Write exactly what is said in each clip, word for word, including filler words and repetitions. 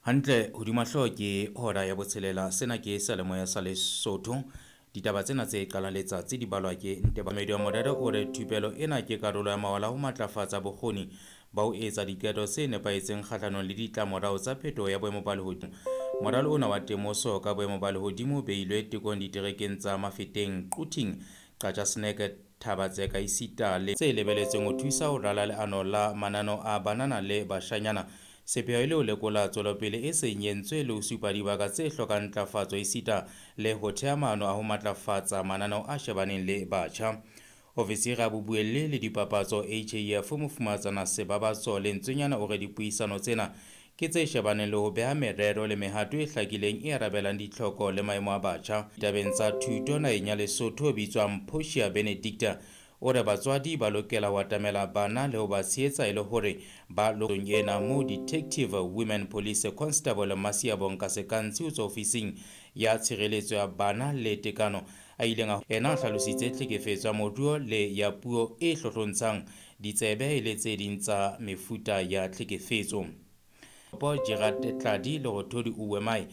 Hantle hodima hlooho ke hora ya botshelela. Sena ke seyalemoya sa Lesotho. Ditaba tsena tse qalang letsatsi di balwa ke Ntebamedi wa Morero o re thupelo ena ke karolo ya mawala ho matlafatsa bokgoni ba ho etsa diqeto tse nepahetseng kgahlanong le ditlamorao tsa phetoho ya boemo ba lehodimo. Moralo ona wa temoso ka boemo ba lehodimo o beilwe tekong diterekeng tsa Mafeteng, Quthing, Qacha's Nek, Thaba-Tseka esita le tse lebeletsweng ho thusa ho rala leano la mananeo a banana le bashanyana. Sepheo e le ho lekola tswelopele e seng e entswe le ho supa dibaka tse hlokang ntlafatso esita le ho thea maano a ho matlafatsa mananeo a shebaneng le batjha. Ofisiri ya bobuelli le dipapatso H A F Mofumahatsana Sebabatso Lentswenyana o re dipuisano tsena ke tse shebaneng le ho beha merero le mehato e hlakileng e arabelang ditlhoko le maemo a batjha. Ditabeng tsa thuto naheng ya Lesotho bitswang Portia Benedicta o re batswadi ba lokela ho atamela bana le ho ba tshehetsa e le hore ba lokong ena moo Detective Women Police Constable Masiabonka Sekantsi ho tswa ofising ya tshireletso ya bana le tekano a ileng a ena a hlalositse tlhekefetso ya moruo le ya puo e hlohlontshang ditsebe e le tse ding tsa mefuta ya tlhekefetso. Paul Gerard Tladi Lerothodi Uwemai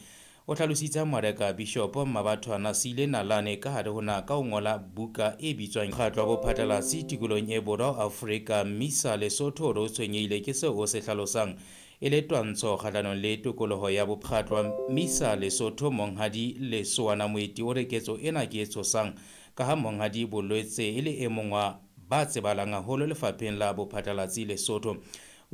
o hlalositse Mareka Bishop Mmabathwana Sile Nalane ka hare ho na ka ho ngola buka e bitswang Mokgatlo wa Bophatlalatsi Tikolohong e Borwa Afrika Mmisa Lesotho o tshwenyehile ke seo o se hlalosang e le twantsho kgahlanong le tokoloho ya bokgatlo wa Mmisa Lesotho. Monghadi Lesoana Moeti o re ketso ena ke e tshosang ka ha Monghadi Bolwetse e le e mong wa ba tsebahalang haholo lefapheng la bophatlalatsi Lesotho.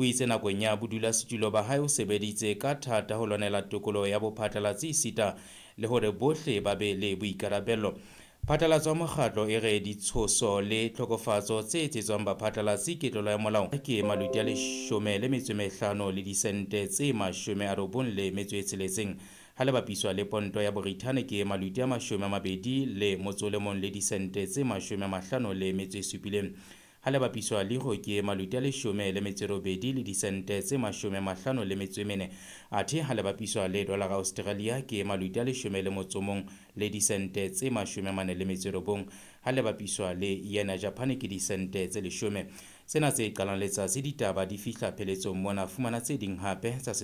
O itse nakong ya bodulasetulo ba hae o sebeditse ka thata ho lwanela tokoloho ya bophatlalatsi esita le hore bohle ba be le boikarabello. Phatlalatso ya mokgatlo e re ditshoso le tlhokofatso tse etsetswang baphatlalatsi ke tlolo ya molao ke maluti a leshome le metso e mehlano le disente tse mashome a robong le metso e tsheletseng ha le bapiswa le ponto ya Borithane ke maluti a mashome a mabedi le motso o le mong le disente tse mashome a mahlano le metso e supileng. Ha le bapiswa le ho ke maluti a leshome le metso e robedi le disente tse mashome a mahlano le metso e mene. Athe ha le bapiswa le dollar Australia ke maluti a leshome le motso o mong le disente tse mashome a mane le metso e robong. Ha le bapiswa le yen ya Japan ke disente tse leshome. Tsena tse qalang letsatsi ditaba di fihla pheletsong mona. Fumana tse ding hape tsa